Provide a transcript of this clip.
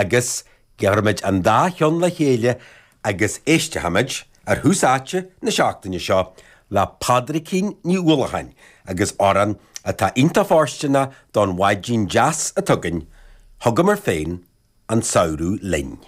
Agus gearrfaimid an dá cheann le chéile agus éistfimid ar Thús Áite na seachtaine seo le Pádraicín Ní Uallacháin agus amhrán atá iontach fóirsteanach don mhaidin deas atá againn, Thugamar féin an Samhradh Linn.